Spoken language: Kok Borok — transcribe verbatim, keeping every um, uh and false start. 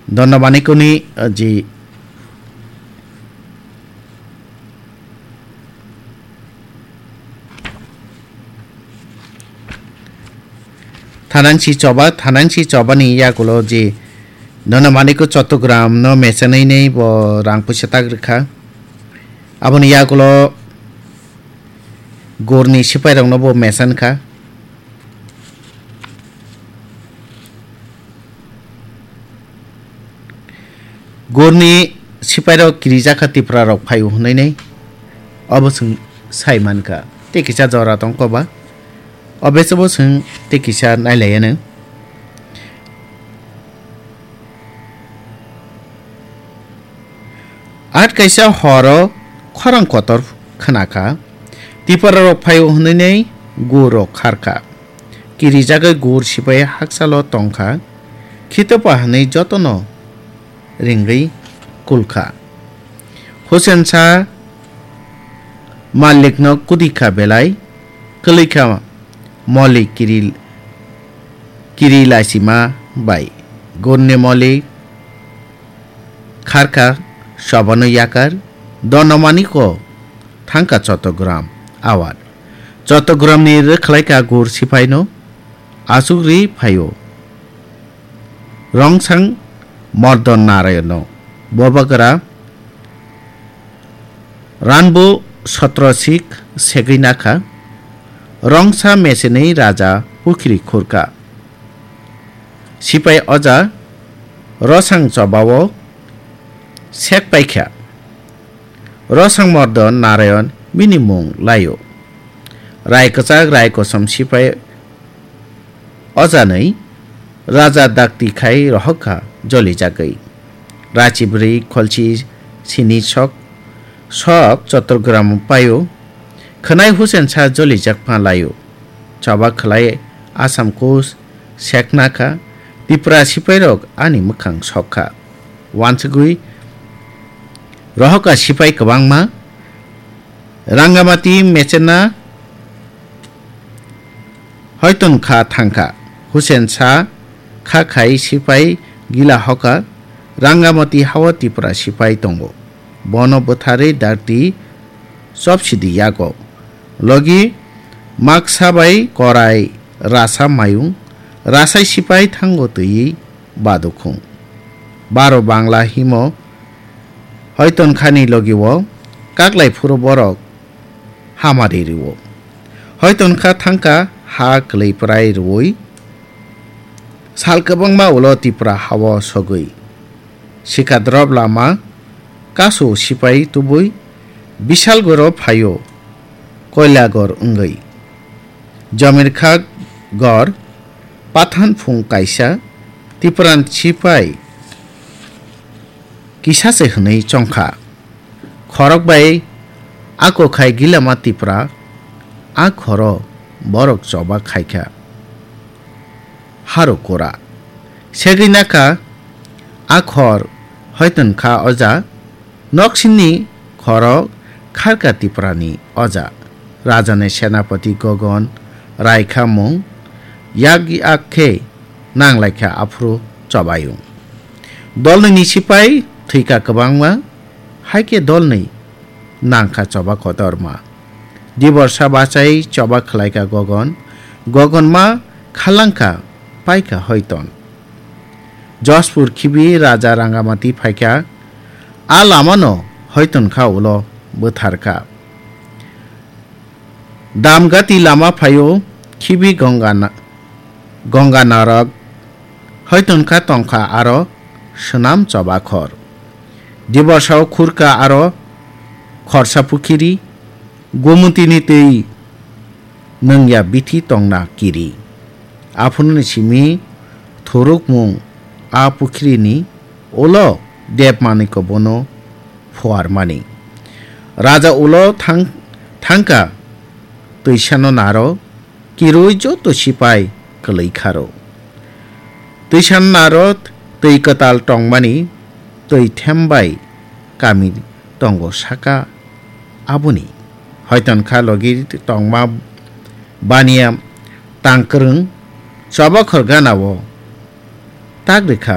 Donna Manikuni, uh, ji Thanangsi choba, thanangsi chobani yakulo ji Donna Maniku Chottogram no mesenai nei bo rang puisa tak rikha. Aboni yakulo gorni sipai rokno bo mesan kha. Gorni sipairok kirijak kha Tiprarok phaio hwnwi nai obo chwng sai man kha. Tei kisa jora tong koba, obo chwng tei kisa nai lai anw. At kaisa horo khorang kotor khna kha, Tiprarok phaio hwnwi nai gorok khar kha. Kirijagwi gur sipai hakchalo tong kha, khitopa hwnwi jotono ringwi kul kha. Husen sa malikno kudi kha belai, kwlwi kha moli kiri, kiri laisima bai. Gurni moli kharkha sobano yakar, dono maniko thangkha Chottogram awar. Chottogramni rwkhlaikha gur sipaino achukri phaio. Rongsang Mordon Narayano bobagra ranbo sotrosik segwi nakha. Rongsa mesenwi raja pukhiri khurkha. Sipai oja Rosang chobao sek paikha. Rosang Mordon Narayon bini mung laio. Rai kwchak rai kosom sipai ojanwi raja dakti khai rohokha jolijagwi. Rachi bwrwi kholchi sini sok sok Chottogram paio. Khwnai Husen sa jolijak pha laio. Choba khwlai Assam kus sekna kha, Tipra sipairok ani mwkhang sok kha. Wansugwi rohokha sipai kwbangma, Rangamati mechena hoiton kha thangkha. Husen sa kha khai sipai gila hoka, Rangamati hao Tipra sipai tongo. Bono bwtharwi dakti chopsidi yago. Logi maksa bai korai rasa mayung, rasai sipai thango twiwi badukhung. Baro Bangla himo hoiton khani logi o kaklai phuru borok hamari rwo. Hoiton kha thangkha ha kwlwi prai rwui sal kwbangma ulo Tipra hao sogwi. Sikadrop lama kasu sipai tubui Bisalgoro phaio Koilagor wngwi. Jomirkha gor pathan phung kaisa Tipran sipai kisa se hwnwi chongkha. Khorok bai ako khai gilama Tipra, a khoro borok choba khaikha. Haro kura. Segwi nakha a khor hoiton kha oja, noksini khorok kharka Tiprani oja. Rajani senapati Gogon raikha mung, yak yak khe nanglaikha aphuru chobayung. Dolnwini sipai thwikha kwbangma, haikhe dolnwi nangkha choba kotorma. Diborsa bachai choba khwlaikha Gogon, Gogon ma khalangkha paikha Hoiton. Jospur khibi raja Rangamati phaikha, a lamano Hoiton kha ulo bwtharkha. Damgati lama phaio khibi Gongana-, Gonganarok, hoiton kha tongkha aro swnam choba khor. Diborsao khurkha aro khorsa pukhiri, Gomotini twi nwngya bithi tongna kiri. Aphununi simi thurukmung a pukhirini ulo Debmaniko bono phuarmani. Raja ulo thang-, thangkha twisano naro kirui joto sipai kwlwi kharo. Twisano naro twi kwtal tongmani twi thembai kami tongo saka aboni. Hoiton kha logi tongma baniya tangkwrwng chobakhor ganao tak rikha